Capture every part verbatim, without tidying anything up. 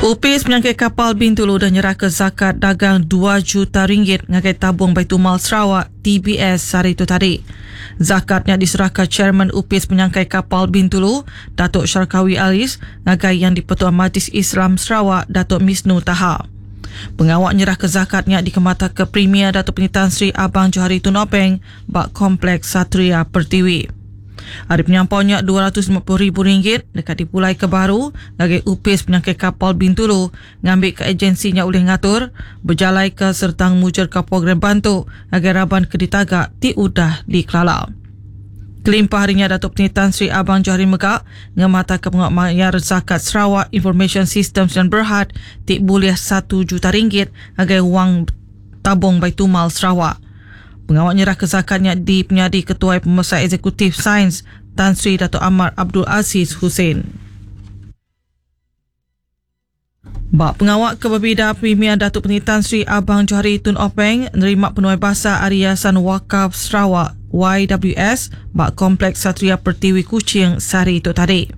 Upis Penyangkai Kapal Bintulu udah nyerahka zakat dagang dua juta ringgit ngagai Tabung Baitulmal Sarawak T B S sehari tu tadi. Zakatnya diserahka Chairman Upis Penyangkai Kapal Bintulu, Datuk Syarkawi Alis, ngagai Yang di-Pertua Majlis Islam Sarawak, Datuk Misnu Taha. Pengawak nyerah ke zakatnya dikemata ke Premier Datuk Penyutan Sri Abang Johari Tun Openg bak Kompleks Satria Pertiwi. Hari penyampaunya dua ratus lima puluh ribu ringgit dekat dipulai ke baru ngagai Upis Penyangkai Kapal Bintulu ngambil ke agensinya oleh ngatur berjalai ke sertang mujur ke program bantu ngagai raban ke ditagak ti udah dikelala. Kelimpah harinya Datuk Penyutan Sri Abang Johari Megak ngemata ke pengawak mayar zakat Sarawak Information System Sdn Berhad ti boleh satu juta ringgit ngagai wang tabung Baitulmal Sarawak. Pengawak nyerah ke zakatnya di penyadi Ketua Pemesai Eksekutif Sains Tan Sri Datuk Amar Abdul Aziz Hussein. Bak pengawak ke berbeza Premier Datuk Penyutan Sri Abang Johari Tun Openg nerima penuai bahasa Ari Yayasan Wakaf Sarawak Y W S bak Kompleks Satria Pertiwi Kuching sehari itu tadi.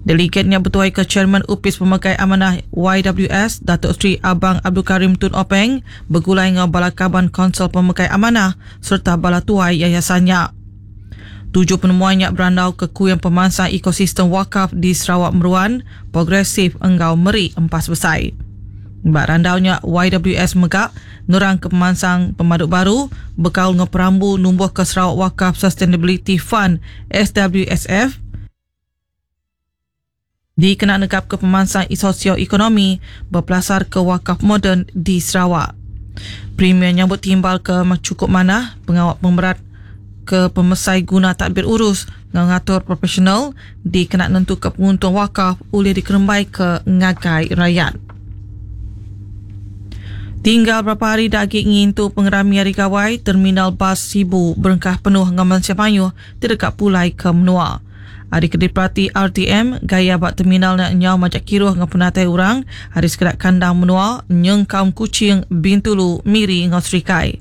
Delegatnya bertuai ke Chairman Upis Pemakai Amanah Y W S Datuk Seri Abang Abdul Karim Tun Openg bergulai dengan bala kaban Konsol Pemakai Amanah serta bala tuai yayasannya. Tujuh penemuannya berandau ke kuyang pemansang ekosistem wakaf di Sarawak Meruan, progresif enggau meri empas besai. Bak randaunya Y W S megak nurang ke pemansang pemaduk baru bekal dengan perambu numbuh ke Sarawak Wakaf Sustainability Fund S W S F dikena negap ke pemansang sosioekonomi berpelasar ke wakaf moden di Sarawak. Premier nyambut timbal ke cukup manah pengawak pemerat ke pemesai guna takbir urus ngatur profesional dikena nentu ke penguntung wakaf oleh dikerembai ke ngagai rakyat. Tinggal berapa hari dah agi ngintu pengerami Hari Gawai, Terminal Bas Sibu berengkah penuh ngaman siapayuh terdekat pulai ke menua. Hari kediprati R T M, gaya bak terminal nak nyau macam kiruh dengan penatai orang, hari sekedak kandang menua, nyeng kaum Kuching, Bintulu, Miri, ngau Serikai.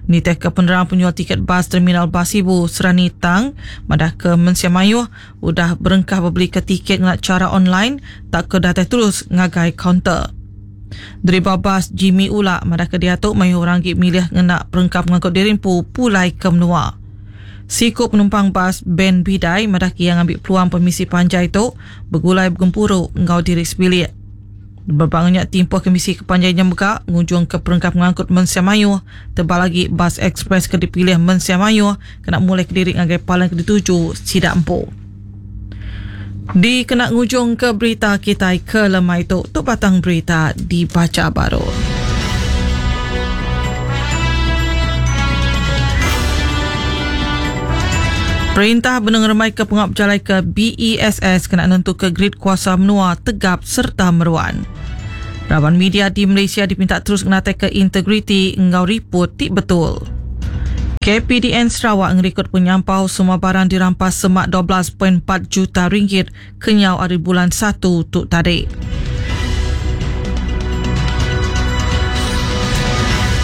Niteh ke penerang penyual tiket bas Terminal Bas Sibu Serani Tang, madah ke Mensia Mayuh, udah berengkah berbeli ke tiket ngena cara online, tak ke datang terus ngagai kaunter. Deriba bas Jimmy Ulak madah ke diatuk mayuh orang gi milih ngena perengkap mengangkut dirimpu pulai ke menua. Siku penumpang bas Ben Bidai madah ke yang ambil peluang permisi panjai tu bergulai bergempuru ngau diri sebilik. Berbangnya timpuh kemisi kepanjainya megak ngunjung ke perengkap mengangkut Mensia Mayuh tebal lagi bas ekspres ke dipilih Mensia Mayuh kena mulai ke diri ngagai paling ke dituju sidak empu. Di kena ngujung ke berita kita ke lemai tu, tu batang berita dibaca baru. Perintah benung remai ke pengap jalai ke B E S S kena nentu ke grid kuasa menua tegap serta meruan. Raban media di Malaysia dipinta terus ngenatai ke integriti ngau report tik betul. K P D N Sarawak ngerikod penyampau semua barang dirampas semak dua belas perpuluhan empat juta ringgit kenyau hari bulan satu tuk tarik.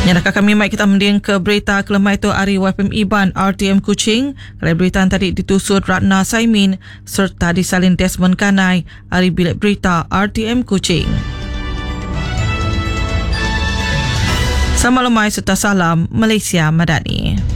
Nyadakah kami mai kita mending ke berita kelemai tu hari Y F M Iban R T M Kuching. Kalau berita tadi ditusut Ratna Saimin serta disalin Desmond Kanai hari bilik berita R T M Kuching. Sama lemai serta salam Malaysia Madani.